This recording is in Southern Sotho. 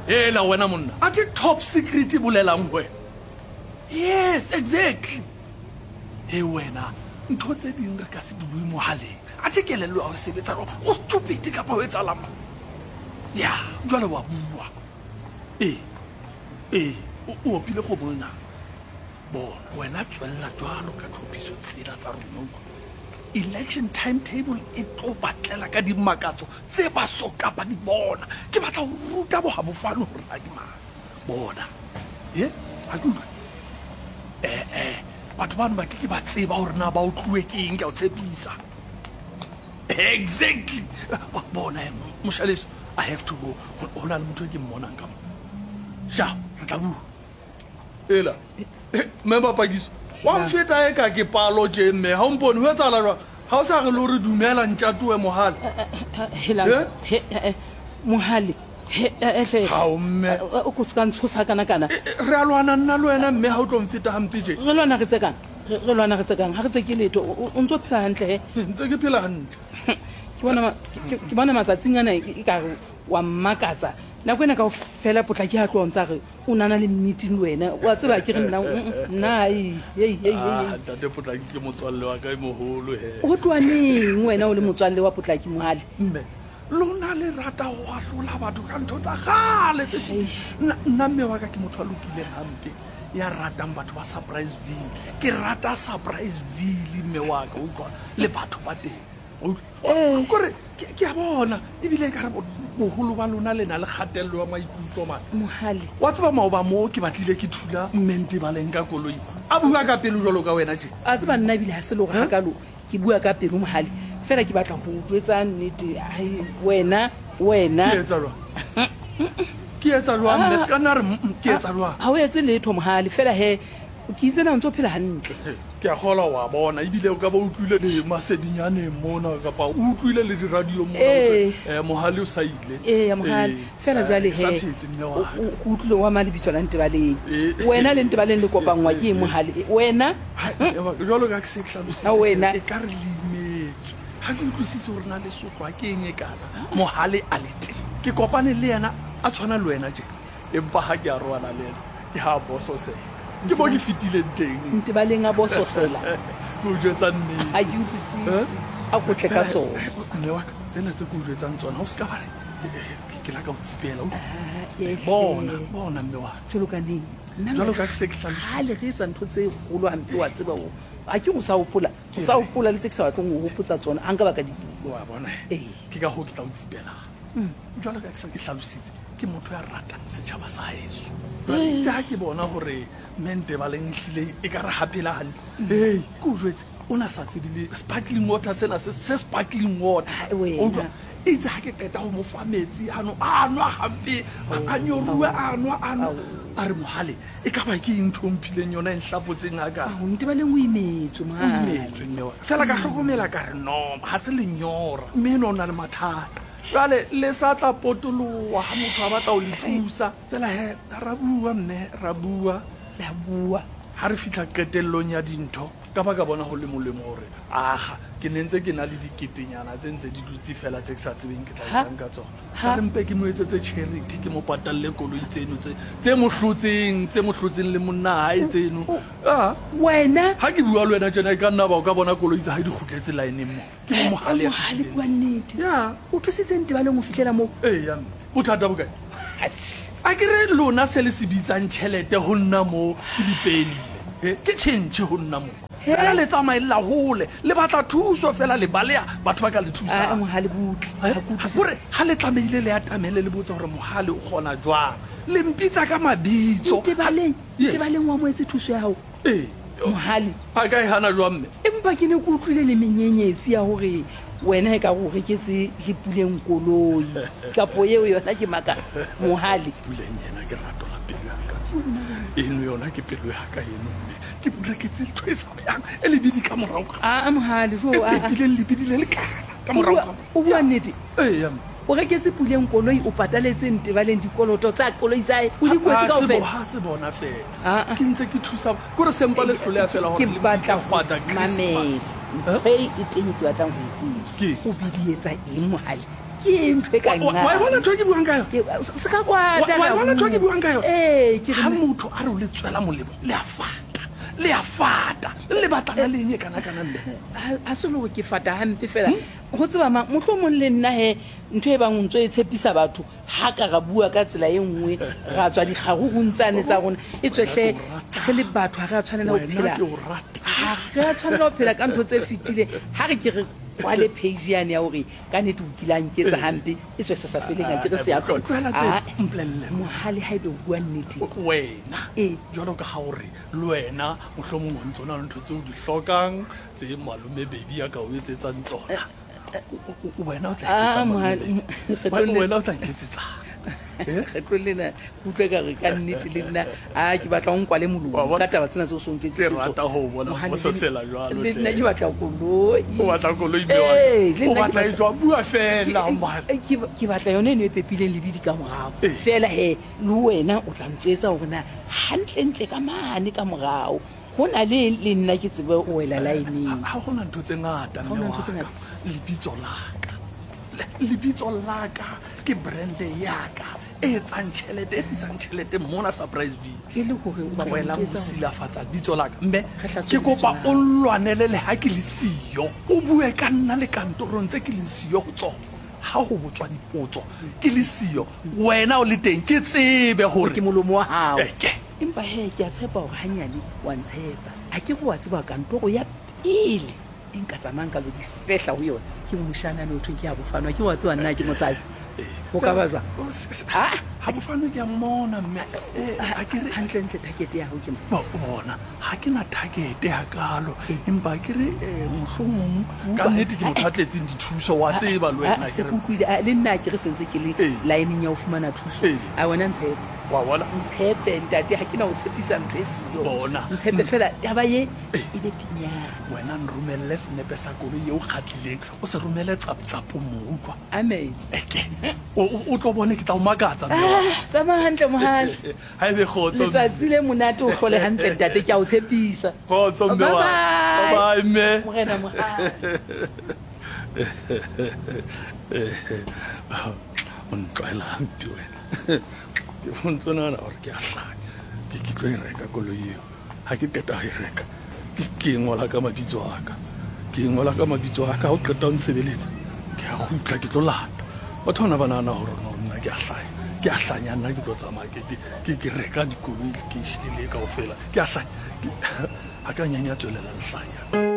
Hela wena monna, athe top secret e bolelang ho wena? Yes, exactly. He wena, ntho tse ding re ka se di bue mohaleng. Athe kelello ya ho sebetsa jwang? O stupid kapa ho etsahalang mo? Ya, jwale wa bua. Ee, ee, o, o opile kgomo lenaka. Bona, wena tswella jwalo ka tlhophiso tsena tsa rona, utlwa. Election timetable e tlo ba tlela ka dimakatso tse ba so ka ba di bona. Ke batla ho ruta bohabofane hore na ke mang. Bona. Ye, ha ke utlwe. Eh, eh, batho bano ba ke ke ba tseba hore na ba utluwe ke eng, ke a o tshepisa. Exactly. Bona, moshaleso, I have to go. Ho na le motho e ke mmonang ka mo. Sha, re tla bua. Ela, mme Mapakiso, wa mfeta e ka ke palo tje mme, ha o mpone, ho etsahala jwang? Ha o sa re le hore dumela ntjatoe Mohale? Helang, Eh? he, eh, Mohale, he, eh, hle. Hao, mme. O ko se ka ntshosa kana kana. Re a lwana nna le wena mme, ha o tlo mfeta hampe tje. Re lwana re tsekang? Re lwana re tsekang? Ha re tseke letho. O ntso phela hantle he? Ntse ke phela hantle. Ke bona ma-, ke, ke bona matsatsing ana e ka re wa mmakatsa. Nako ena kaofela Potlaki ha tloha o ntsa re o nana le meeting le wena wa tseba ke re nna nna ei ei ei Ah, ntate Potlaki ke motswalle wa ka e moholo he. O tloha neng wena o le motswalle wa Potlaki Mohale? Mme lona le rata ho ahlola batho ka ntho tsa kgale tse fetileng. Nna mme wa ka ke motho a lokileng hampe ya ratang batho ba Surpriseville. Ke rata Surpriseville mme wa ka, utlwa le batho ba teng. Eh. Kore ke a bona ebile e ka re boholo ba lona le na le kgatello ya maikutlo mane. Mohale. Wa tseba maoba mo ke batlile ke thula mme Ntebaleng ka koloi a bua ka pelo jwalo ka wena tje. A tseba nna ebile ha se le hore hakalo ke bua ka pelo Mohale, fela ke batla ho o jwetsa nnete. Ai wena, wena. Ke etsa jwang? Ke etsa jwang mme? Se ka nna re ke etsa jwang? Ha o etse letho Mohale, fela he Ke itse na o ntse o phela hantle. Ke a kgolwa wa bona, ebile o ka ba utlwile le masedinyaneng mona, kapa o utlwile le diradiong mona, ho thwe, Ee. Mohale o sa ile. Eya, Mohale. Ee, Feela jwale ke sa he, phetse, mme o, wa ka. o, ke utlwile o ama lebitso la Ntebaleng. Ee. Wena le Ntebaleng le kopanngwa ke eng, Mohale? Wena? Hai, mme wa ka, jwalo ka ha ke se ke hlalositse, Ha wena. e ka re le imetswe. Ha ke utlwisise hore na le sotlwa ke eng e kana Mohale a le teng. Ke kopane le yena a tshwana le wena tjena. Empa ha ke arohana le yena, ke ha a bososela. Ke mo ke fetileng teng. Ntebaleng a bososela. Ke o jwetsa nnete. Ha ke utlwisise. A ko tle ka tsona. Mme wa ka, tsena tse ke o jwetsang tsona, o se ka ba re ke la ka o tsipela. Bona, bona mme wa ka. Jwalo ka neng? Jwalo ka ke se ke hlalositse. Kgale re etsa ntho tse kgolo hampe, wa tseba o. A ke o sa hopola? O sa hopola le tse ke sa batleng ho hopotsa tsona, ha nka ba ka di bua. Wa bona? Ee. Ke ka hoo ke tla o tsipelang. Jwalo ka ke se ke hlalositse, ke motho ya ratang setjhaba sa heso. Jwale itse ha ke bona hore Mme Ntebaleng ehlile e ka re ha phela hantle. Hei, ke o jwetse, o na sa tsebe le sparkling water sena se, se sparkling water. Hai, wena. O utlwa? Itse ha ke qeta ho mo fa metsi ano, a nwa hampe, a nyoruwe, a nwa, a nwa. A re, Mohale, e ka ba ke eng ntho o mphileng yona e nhlapotseng hakana? Ao, Ntebaleng o imetswe, O Mohale. imetswe, mme wa ka. Feela ka hlokomela ka re, no, ha se lenyora. Mme enwa o na le mathata. Jwale le sa tla potoloha ha motho a batla ho le thusa. Fela he, ra bua mme, ra bua. La bua. Ha re fihla qetellong ya dintho, ka ba ka bona ho le molemo hore, akga, ke ne ntse ke na le diketenyana tse ntse di dutse feela tse ke sa tsebeng ke tla etsang ka tsona. Ka re mpe ke mo etsetse charity, ke mo patalle koloi tseno tse, tse mo hlotseng, tse mo hlotseng le monna hae tseno. Ah. Wena. Ha ke bua le wena tjena, e ka nna ba o ka bona koloi tsa hae di kgutletse laeneng mo. Ke mo Mohale ya Mohale, fetileng. bua nnete. Ya. O thusitse Ntebaleng ho fihlela moo? Eya mme. Bothata bo kae? A ke re lona se le se bitsang tjhelete ho nna mo ke dipeni mme. Ke tjhentjhe ho nna mo. Fela le tsamaella hole, le batla thuso fela le baleha batho ba ka le thusang. Aa Mohale butle. Ha ke utlwisise. Kore ha le tlamehile le atamele le botse hore Mohale o kgona jwang. Le mpitsa ka mabitso. Ntebaleng, Yes. Ntebaleng o amohetse thuso ya hao? Ee. Mohale. A ka e hana jwang mme? Empa ke ne ke utlwile le menyenyetsi ya hore wena e ka re o reketse le Puleng koloi. Kapo eo yona ke maka Mohale. Puleng yena ke rato la pelo ya ka. Eno yona ke pelo ya ka eno mme. Ke mo reketse ntho e sa yang e lebidi ka morao ka. Aa Mohale, jo E a. pepileng lebidi le lekana ka morao ka. O bua nnete? Eya mme. O reketse Puleng koloi, o pataletse Ntebaleng dikoloto tsa koloi tsa hae, o di kwetse kaofela. Ha se bona feela. Aa. Ke ntse ke thusa, ke hore se mpa le hloleha feela Ke hore le batla mpitse ho Father Christmas. mamela. Ntho e e teng e ke batlang ho e tseba. Ke? O bidietsa eng Mohale? Ke eng ntho e ka Wa e bona ntho e ke buang ka yona? Se ka kwata. Wa e bona ntho e ke buang ka yona? Ee, ke Ha motho a re o le tswela molemo, le a fata. Le a fata. Le batlana le eng e kana-kana mme? Ha se le gore ke fata hampe fela. Go tseba mang, mohlomong le nna he ntho e bang o ntso e tshepisa batho, ha ka ra bua ka tsela e nngwe, ra tswa dikgarurung tsane tsa rona. E tswe hle re le batho ha re a tshwanela ho phela. Ha re a tshwanela ho phela ka ntho tse fetileng. Ha re ke re kwale page yane ya hore ka nnete o kile a nketsa hampe, e tswe se sa feleng a ke re se a tlola. Tlohela tse, mpolelle. Mohale haebe o bua nnete. Wena, jwalo ka ha o re le wena mohlomong o ntso na le ntho tseo o di hlokang tse malome Baby a ka o etsetsang tsona. Wena o tla ah, wena o tla nketsetsang? Eh? Kgetlong lena ke utlwe ka re ka nnete le nna a ke batla o nkwale molomo ka taba tsena tse o sontšetsitse le nna ke batla koloi. O batla koloi? Ee, o batla e jwang? Bua fela. Ke batla yone eno e pepileng lebidi ka morago fela. He le wena o tla ntswetsa gore na gantlentle ka mane ka morago go na le eng, le nna ke tsebe go wela laeneng. Ga go na ntho tse ngata, mme wa ka. Lebitso la ka, lebitso la ka ke brande ya ka e etsang tšhelete, e tlisang tšhelete mona Surpriseville. E le gore o batla go Tlohela go nketsa hore silafatsa bitso la ka. Mme re hlatswe ke lebitso kopa la o hao. nlwanele le ha ke le siyo. O bue ka nna le kantorong tse ke leng siyo ho tsona. Ha ho botswa dipotso ke le siyo, wena o le teng, ke tsebe hore Ke molomo wa hao. Eke. Empa he, ke a tshepa hore hanyane wa ntshepa. Ha ke re wa tseba kantoro ya pele e nka tsamayang ka lo di fehla ho yona ke moshanane o thweng ke Habofano. Ha ke re wa tseba nna ke mosadi. Ho ka ba jwang? Ha? Habofano ke a mmona mme. Ha ke re. Hantlentle target ya hao ke mang? Bona, ha ke na target hakalo. Empa ke re mohlomong ka nnete ke motho a tletseng dithuso, wa tseba le wena. Se ke utlwile. Le nna ha ke re sentse ke le line-eng ya ho fumana thuso. A wena ntshepe. Wa bona? Ntshepe, ntate, ha ke na ho tshepisa ntho e siyo. Bona. Ntshepe fela, taba ye e be pinyana. Wena nromelle senepe sa koloi ye o kgatlileng, o se romele tsap-tsapo mo, utlwa? Amen. Eke, o tlo bone ke tla o makatsa, mme wa ka. Tsamaya hantle, Mohale. Ha e be kgotso, mme. Letsatsi le monate, o hlole hantle, ntate, ke a o tshepisa. Kgotso, mme wa ka. Bye-bye. Bye-bye, mme. Morena Mohale. O ntlwaela hampe wena. Ke ntse nahana gore ke a hlanya. Ke tlo e reka koloi eo. Ha ke qeta ho e reka, ke e ngola ka mabitso a ka. Ke e ngola ka mabitso a ka. Ha o qeta ho nsebeletsa, ke a kgutla ke tlo lata. Batho bana ba nahana gore no nna ke a hlanya. Ke a hlanya nna ke tlo tsamaya ke reka dikoloi lekeishene le kaofela. Ke a hlanya. Ha ka nyanya tswelela lehlanya.